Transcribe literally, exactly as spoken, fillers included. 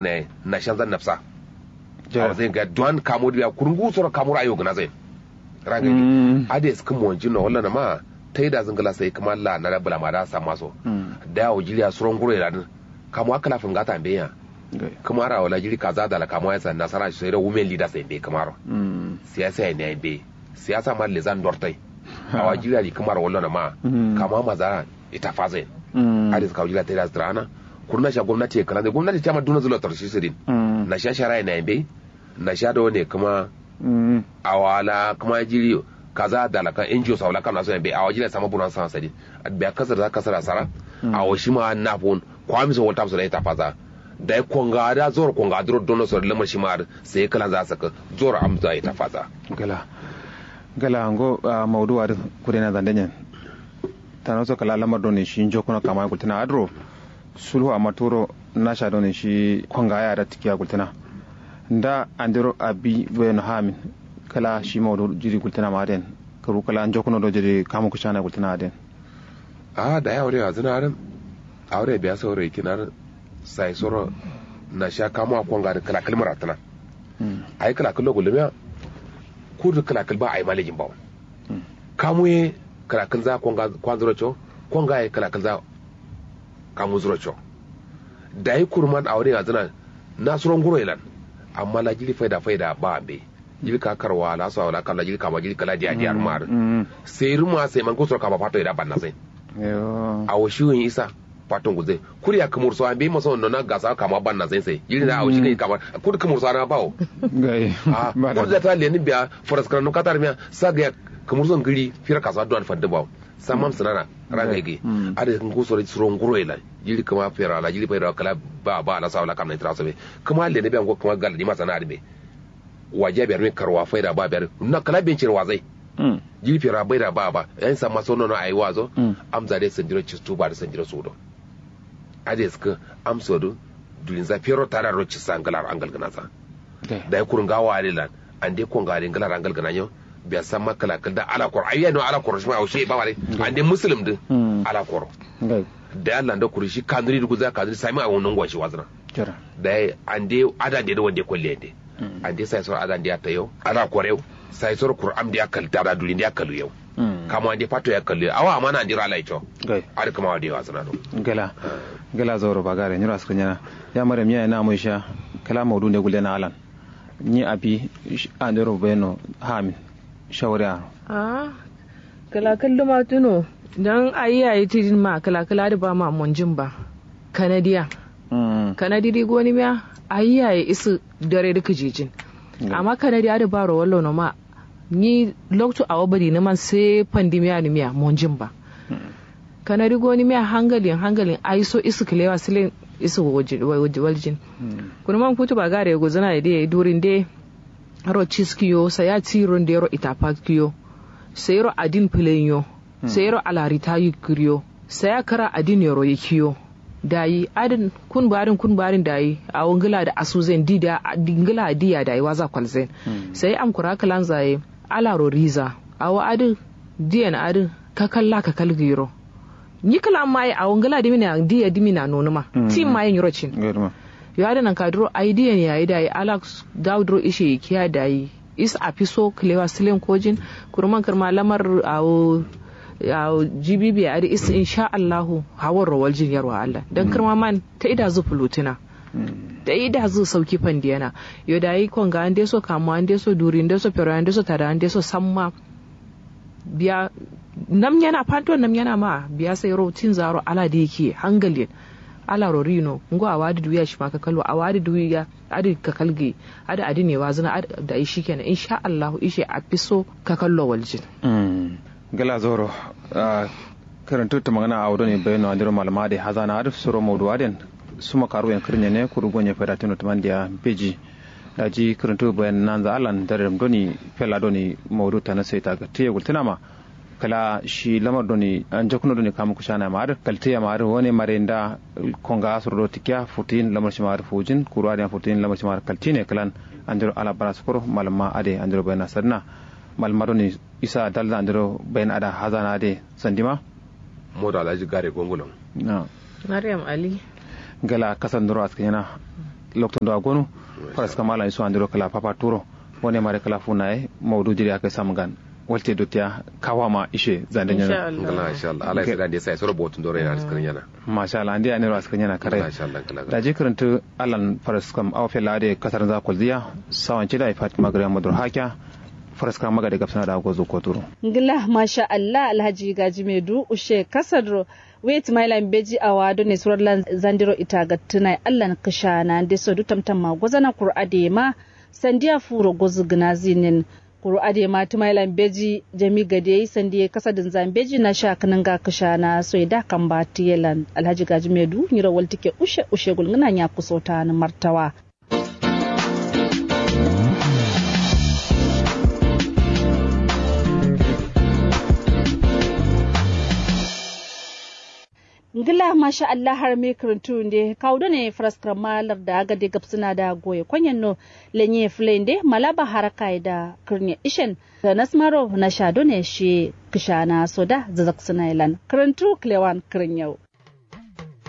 ne nashanzan nafsa. Awo zai ga duwan kamo diya kurungu soro kamuro ayo gna zai. Rangai ade skun monjin no wallana ma. Taida zingla sai kuma la na da bula ma da samma so. Da awo jiriya suron guro iradin. Kamo akala fungata mbeya. Kuma ra wala jiri kaza dala kamo ya san nasara sai da women leader sai mbe kuma ro. Siyasa ya ne mbe. Siyasa ma lezan dortai. Awa jiriya di kuma ra wallana ma. Kamo maza ita fazain. Ade ska jiriya taida zdrana. Kurna sha gwamnati ya kala gwamnati chama duna zulo tarshi sidin. Na sha shara ya ne mbe. Na sha do ne kuma. Awa la kuma jiri kaza dala kan ngo sa wala kan aso ya mbe awa jiriya sama buran sa sadin. Biya kasar za kasar sara. Awo shima na fun. Kwami so waltam so da ita faza. Da konga da zor konga duro dono so lamar shima sai kala za saka. Zor am za ita faza. Gala. Gala ngo maudu wa kudena zandenyen. Tano so kala lamar doni shi njo kuna kama gultina adro. Sulhu amma turo nasha doni shi konga ya da tikiya gultina. Nda andiro abi boyeno hamin. Kala shi maudu jiri gultina ma den. Kuru kala njo kuna do jiri kamu kushana gultina den. Ahh dayi awure wazǝna adǝ. Awure biya sauro yikin adǝ. Sai soro nasha kamuwa konga adǝ kǝla kǝl mǝratǝna. Ayi kǝla kǝl lo gullumiya. Kudǝ kǝla kǝl ba ayi ma lejin bawo. Kamu ye kǝla kǝl za konga kwanzǝ ro co. Konga ye kǝla kǝl za kamu zǝ ro co. Dayi kuruman awure wazǝna. Na suro nguro ye lan. Amma la jiri faida faida ba ambe. Jiri ka karwa la so awala kalla jiri kama jiri kala diya diya rumar. Sai ruma sai man kusura kama fato ida banna sai. Awo shi wun isa. Fato nguzai kuriya kumur so ambe maso nona gasa kama banna sai sai jiri na awo shi kai kama. Kudu kumur so ana bawo. Gai. Kudu da ta lenin biya faras karanu katar miya sa ga kumur so ngiri fira kasa duwan fadde bawo. Samam sinana. Rangai gai. Ade kusura suro nguro ila. Jiri kama fira la jiri faida kala ba ba la so awala kamna itira so be. Kama lenin biya ngo kama gal di masana ade be. Wajiya biyar min karwa faida ba biyar na kala bincin wazai. Jiri fera baida ba ba yan samma sono no ayi wazo. Amza de sandiro cistu ba de sandiro sudo. Ade sku amso du. Dulinza fero tara ro cisa ngalar angal gana sa. Dai kurun gawa ade lan. Ande konga ade ngalar angal gana nyo. Biya samma kala kal da ala koro ayi no ala koro shima aushe ba wale. Ande muslim du. Ala koro. Dai allah ndo kuru shi kanuri du guza kanuri sami a wono ngwa shi wazna. Dai ande ada de wande kolle ande. Ande sai soro ada ndiya tayo ala korew. Sai soro kur'am ndiya kalta da duri ndiya kalu yau. Kamo ande fato ya kalu yau awa amana andiro ala icho. Ada kama wade wa sanado. Gala. Gala zoro bagare nyiro askanyana. Ya mare miya na mo isha. Kala maudu nde gulde na alan. Nyi abi andiro beno hamin. Shawari ano. Ahh. Kǝla kǝl dǝ ma tuno. Dan ayi yayi tidin ma kǝla kǝl adǝ ba ma monjin ba. Kanadi ya. Kanadi dǝ goni miya. Ayi yayi isǝ dare dǝ kǝjijin. Amma kanadi adǝ ba ro wallo no ma. Nyi loktu awo badi nǝ man sai pandimiya nǝ miya monjin ba. Kanadi goni miya hangalin hangalin ayi so isǝ kǝlewa sǝlen isǝ waljin. Kunu man kutu ba gare guzǝna ye dǝ yayi durin dǝ. Ro ciskiyo saya tiro ndero ita pakkiyo. Sayiro adin pǝlenyo. Sayiro alarita yikkǝriyo. Saya kǝra adin yero yikkiyo. Dayi adin kun barin kun barin dayi awo ngǝla dǝ asuzen di da ngǝla diya dayi waza kwalzen. Sayi amkura kǝlanza ye. Alaro riza awo adǝ. Diyen adǝ kakalla kakal gǝyiro. Nyi kǝla maye awo ngǝla dǝmina diya dǝmina nonuma. Tin maye nyiro cin. Yo adǝ nanka duro ai diyen yayi dayi ala dawu duro ishe yikkiya dayi. Is afiso kǝlewa sǝlen kojin. Kuruman kǝrma lamar awo. Awo jibibiye adǝ is insha allahu. Hawarro waljin yarwa allah dan kǝrma man. Taida zu fulutina. Taida zu sauki fandiyana. Yo dayi konga andeso kamuwa andeso duri andeso fero andeso tada andeso samma. Biya. Namnyana fanto namnyana ma biya sai ro tinza ro ala dǝ yikkiye hangalin. Alaro rino ngo awo adǝ duwiya shima kakal wa awo adǝ duwiya. Adǝ kakal gǝyi. Adǝ adǝ ne wazǝna adǝ dayi shikenan insha allahu ishe afiso. Kakallo waljin. Gla zauro. Ahh. Kǝrǝntǝ tǝmangǝna awo done baino andero malama adǝ hazana adǝ suro maudu aden. Suma karu yen kǝrǝnye ne kuru gonye faidatǝno tǝmandiya. Mbeji. Daji kǝrǝntǝ bayan nanza allan daredǝm doni fella doni maudu tanasai tagatǝye gultǝnama. Kǝla shi lamar doni anjakkuno doni kamu kǝshanayama adǝ kaltǝyema adǝ wane mare nda. Konga suro do tǝkkiya futuyin lamar shima adǝ fujin kuru adǝ yan futuyin lamar shima adǝ kaltǝyine kǝlan. Andero ala bara sukuro malama ade andero bayan asadǝna. Malama doni isa dalza andero bayan ada hazana ade sandima. Modo alhaji gare gongulon. Maryam ali. Gala kasar ndoro askǝnyena. loktu ndo agonu. Faras kam ala isu andiro kala papa turo. Wone mare kala funa ye maudu jiri akai samgan. Walte dotiya kawa ma ishe zande nyana. Ngala insha Allah. Ala isira de sai soro botun dore na askrin yana. Masha Allah ande aniro askrin yana kare. Masha Allah kala. Daji kirintu alan faras kam au fela de kasar za kulziya. Sawan cida fatima gari madur hakya. Faras kam magade gabsana da gozo koturo. Ngila masha Allah alhaji gaji medu ushe kasadro. Wait mailan beji awa done surar lan zandiro ita gattunai allan kishana nde so du tamtam ma gozana kuru adema. Sandiya furo gozu gina zinin. Kuru adema tumailan beji jami gade sandiya kasadin zan beji na sha kinanga kishana so ida kamba tiyelan alhaji gaji medu nyiro waltike ushe ushe gulngina nya kusota ni martawa. Ngla masha Allah har me kǝrǝntu nde kawu done faraskǝram ma larda gade gabsǝna da goye konyen no. Lenye fǝlai nde malaba haraka ye da kǝrne ishen. Tanas maro nasha done shiye kǝshana so da zazaksǝna ye lan kǝrǝntu kǝlewan kǝrǝnyau.